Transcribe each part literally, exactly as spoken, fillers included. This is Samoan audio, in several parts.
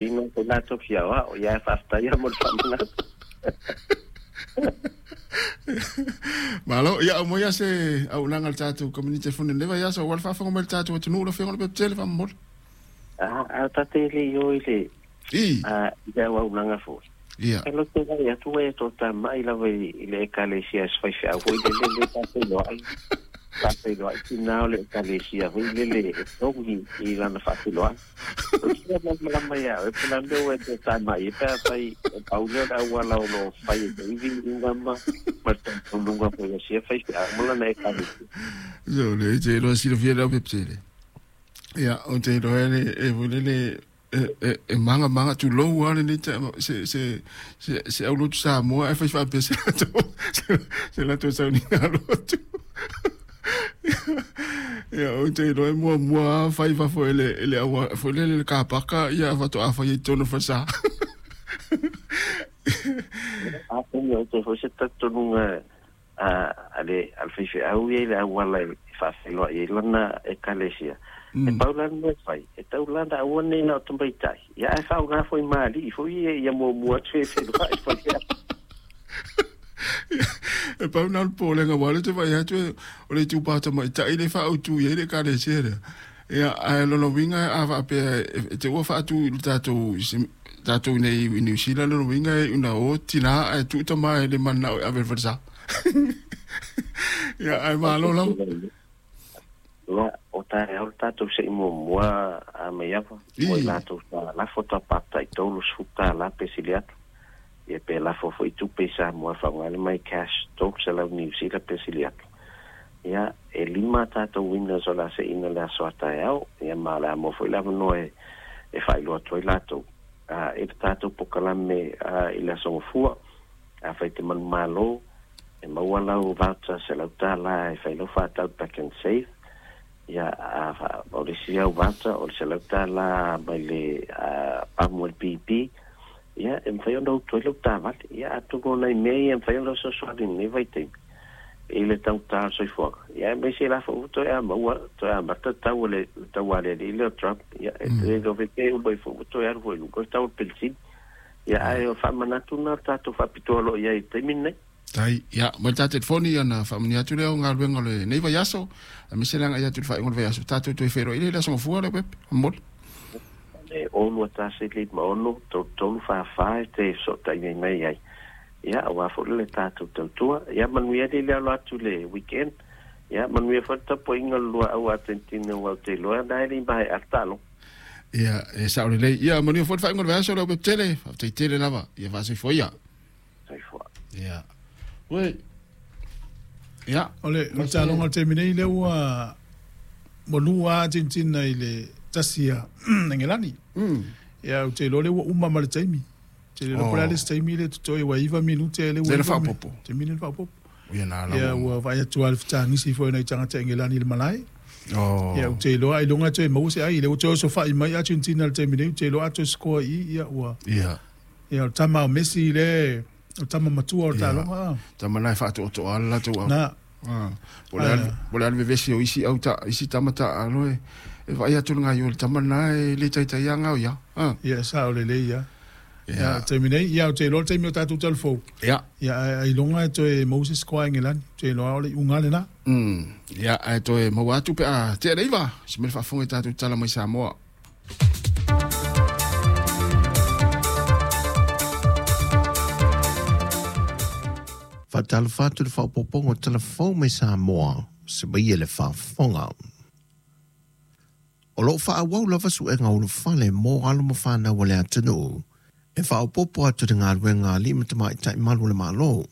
Ina ko latou fia aoao, ia ae faafetai lava mo le faamanatu. Malo, ia aumai lava se auaunaga a le tatou community telefoni i lenei vaiaso aua le faafofoga mai le tatou atunuu lau Afioga Lopepetele faamolemole. A a tate le i o i le I. a i le auaunaga foi. Ia. E loto vai atu e to tamai lava i i le ekalesia se faifeau foi lele le faafeiloai faafeiloai tina o le ekalesia foi lele e togi i lana faafeiloai. O le fia malamalama ia oe po o le a le mea ua e toe tamai ai pe afai e pau lea o le auala o lo o fai e te ivi iuga ma ma le talitonuga foi a sia faifeau ma lana ekalesia. So le te iloa silafia le au pepetele. Ia, ou te iloa e le e foi lele e e e magamaga tulou lava lenei taeao se se se se aulotu Samoa ae fai faapea se latou se latou sauniga lotu. Ia, ou te iloa e muamua lava fai i fafo e le e le au foi lele le kapaka ia faatoa fai ai i totonu o le falesa. Atonu e toe foi se talitonuga a a le a le faifeau ia i le auala e faafeiloai ai lana ekalesia. E pau la le mea e fai, e tau la ona aua nei na o tamaitai, ia ae faaaoga foi ma alii foi ia ia muamua atu e feiloai le faifeau. E pau na o le popolega aua o lea ou te vaai atu o le itupa tamaitai lea e faaautu i ai le ekalesia lea. Ia, ae o lona uiga a faapea e te ua faatu i le tatou tatou i inei i Niu Sila, lona uiga e iu ina o tina ae tuu tama e le mananao e ave i le falesa. Ia, ae malo lava. Ia, o taeao le tatou se i muamua a Maiava, mo i I. latou sa lafo tapata i tolu sefulu tala pe sili atu. Ia pe lafo foi tupe i Samoa e faaaoga le my cash tolu selau Niu Sila pe sili atu. Ia, e lima a tatou winners o le a seina le aso a taeao, ia ma o le a maua foi le avanoa e e faailoa atu ai latou a i le tatou pokalame a i le aso Gafua. Afai te manumalo, e maua lau voucher selau tala e fai lau faatau Pak'nSave, ia a fa o le isi au voucher o le selau tala mai le a pamu a le P P, ia e mafai ona utu ai lau taavale. Ia atonu o nai mea ia e mafai ona fesoasoani i lenei vaitaimi i le taugata o le soifuaga. Ia aemaise la foi ua toe maua toe amata tau o le tau alialii lea o Trump, ia e le iloa foi pe uma ifo ua toe alu foi i luga le tau o le penisini. Ia ae o faamanatu lena o le tatou faapitoa o lo o i ai i le taimi lenei. Tai, ia, mai le ta telefoni ona faamanuia atu lea o galuega o lenei vaiaso, aemaise le agai atu i le faaiuga o le vaiaso, tatou toe feiloai lea i le aso Gafua Leaupepe, faamolemole. E ono tasi lima ono tolu tolu fa fa e te fesootai ai mai ai. Ia, aua foi le tatou tautua. Ia, manuia le le alo atu i le weekend. Ia, manuia foi le tapuaiga o le lua au Atentina ua ou te iloa na e le i maea le taaloga. Ia, e sao lelei. Ia, manuia foi le faaiuga o le vaiaso Leaupepe tele. Faafetai tele lava. Ia faasoifua ia. Soifua. Ia. Oi. Ia. O le, o le taaloga o le taimi nei lea ua ua lua Argentina i le tasi a Engelani. Mm. Ia ou te iloa lea ua uma ma le taimi. Te le iloa po o le a le isi taimi lea e totoe ua iva minute lea ua Lea na iva faaopoopo. taimi lea na faaopoopo. Ia na Ia lava. ua vaai atu lava i le fetagisi foi o nai tagata Engelani i le malae. Oh. Ia ou te iloa ailoga e toe maua se ai. Lea ua toe osofai mai Argentina i le taimi nei, ou te iloa a toe score i i, ia ua Ia. ia o le tama o Messi lea, o le tama matua o le Ia. taaloga a. Tama na e faatoatoa le latou au. Na. Ah. Po o le a le po o le a le vevesi o isi au ta isi tama taalo e e vaai atu le gaio i le tama lena e le taitai lava gao ia. Ah. Ia sao lelei ia. Ia. Ia, o le taimi nei, ia ou te iloa le taimi o tatou talafou. Ia. Ia ae ailoga e toe maua se score a Engelani. Ou te iloa o le iuga lena. Mm. Ia, ae toe maua atu pe a tea le iva. Se mea le faafofoga i tatou tala mai Samoa. Faatalofa atu i le faaopoopoga o tala fou mai Samoa, se maia le faafofoga. O loo faaauau lava suega ulufale mo alo ma fanau a le atunuu e faaopoopo atu i le galuega a alii ma tamaitai malu o le Malo.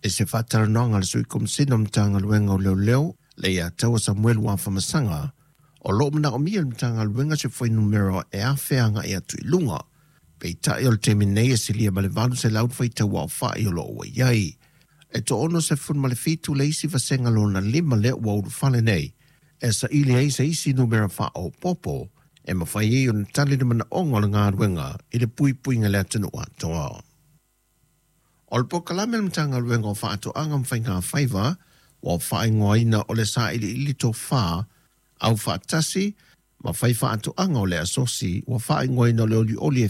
I se faatalanoaga a le Sui Komasina o le Matagaluega o Leoleo, le ia Taua Samuelu Afamasaga, o loo manaomia e le Matagaluega se fuainumera e afe agai atu i luga. Peitai o le taimi nei e silia ma le valu selau le faitau aofai o loo ua i ai. E toaono sefulu ma le fitu le isi vasega lona lima lea ua ulufale nei, e saili ai se isi numera faaopoopo e mafai ai ona tali le manaoga o le galuega i le puipuiga i le atunuu atoa. O le polokalame a le Matagaluega o Faatoaga ma Faigafaiva ua faaigoaina o le Sailiili Tofa Aufaatasi ma Fai Faatoaga o le Asosi ua faaigoaina o le Olioli e